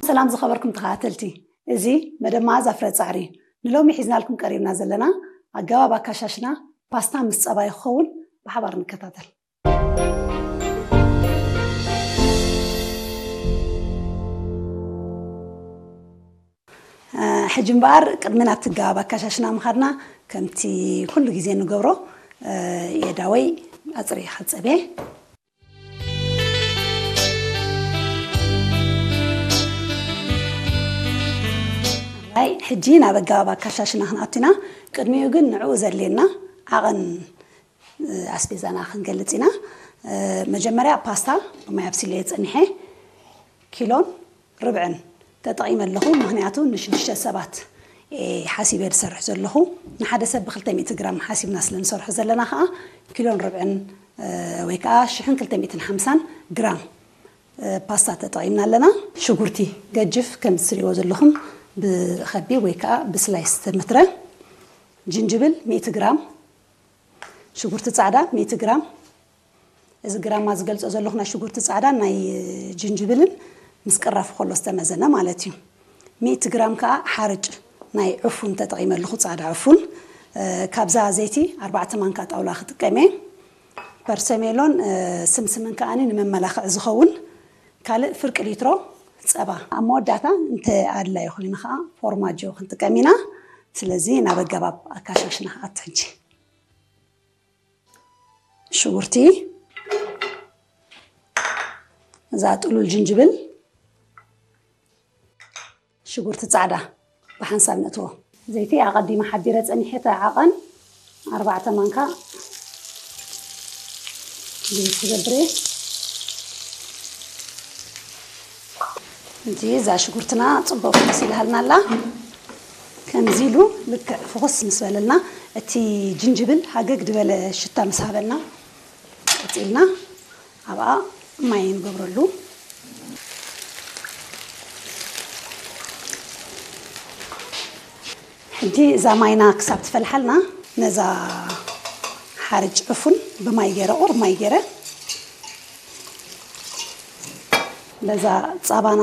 ሰላም ዝኸበርኩም ተኸታተልቲ፣ እዚ መደብ መኣዛ ፍረ ጻዕሪ እዩ። ንሎሚ ሒዝናልኩም ቀሪብና ዘለና ኣገባብ ኣካሻሽና ፓስታ ምስ ጸባ ክኸውን። ብሓባር ንከታተል። ሕጂ እምበኣር ቅድሚ ናብቲ ኣገባብ ኣካሻሽና ምኻድና፣ ከምቲ ኩሉ ግዜ ንገብሮ፣ የዳወይ ኣጽርየ ክጸብ እየ። ሕጂ ናብ ኣገባብ ኣካሻሽና ክንኣቱ ኢና። ቅድሚኡ ግን ንዕኡ ዘድልየና ዓቐን ኣስቤዛና ክንገልጽ ኢና። መጀመርያ ፓስታ ብማይ ኣብሲለዮ ጸኒሐ ኪሎን ርብዕን ተጠቒመ ኣለኹ። ምኽንያቱ ንሽዱሽተ ሰባት ሓሲበ ዝሰርሕ ዘለኹ፣ ንሓደ ሰብ ብ200 ግራም ሓሲብና ስለ ንሰርሖ ዘለና ከዓ ኪሎን ርብዕን ወይ ከዓ ሽሕን ክልተ ሚእትን ሓምሳን ግራም ፓስታ ተጠቒምና ኣለና። ሽጉርቲ ገጅፍ ከም ትሪእዎ ዘለኹም ብኸቢ ወይ ከዓ ብስላይስ ተመትረ፣ ጅንጅብል ሚእቲ ግራም፣ ሽጉርቲ ጻዕዳ ሚእቲ ግራም። እዚ ግራማ ዝገልጾ ዘለኹ ናይ ሽጉርቲ ጻዕዳ ናይ ጅንጅብልን ምስ ቅራፉ ከሎ ዝተመዘነ ማለት እዩ። ሚእቲ ግራም ከዓ ሓርጭ ናይ ዕፉን ተጠቒመ ኣለኹ፣ ጻዕዳ ዕፉን። ካብዛ ዘይቲ ኣርባዕተ ማንካ ጣውላ ክጥቀም እየ። ፐርሰሜሎን ስምስምን ከዓኒ ንመመላኽዒ ዝኸውን ካልእ ፍርቂ ሊትሮ ጸባ። ኣብ መወዳእታ እንተ ኣድላዩ ኮይኑ ከዓ ፎርማጆ ክንጥቀም ኢና። ስለዚ ናብ ኣገባብ ኣካሻሽና ክኣቱ ሕጂ። ሽጉርቲ፣ እዛ ጥሉል ጅንጅብል፣ ሽጉርቲ ጻዕዳ ብሓንሳብ ነእትዎ። ዘይቲ ኣቐዲመ ሓቢረ ጸኒሐ፣ እቲ ዓቐን ኣርባዕተ ማንካ ዘይት ክገብር እየ። እዚ እዛ ሽጉርትና ጽቡቕ መሲልሃልና ኣላ። ከምዚ ኢሉ ልክዕ ፍኹስ ምስ በለልና፣ እቲ ጅንጅብል ሃገግ ዝበለ ሽታ ምስ ሃበና፣ ቀጺልና ኣብኣ ማይ ንገብረሉ። ሕጂ እዛ ማይና ክሳብ ትፈልሓልና፣ ነዛ ሓርጭ ዕፉን ብማይ ገይረ፣ ቁሩብ ማይ ገይረ፣ በዛ ጻባና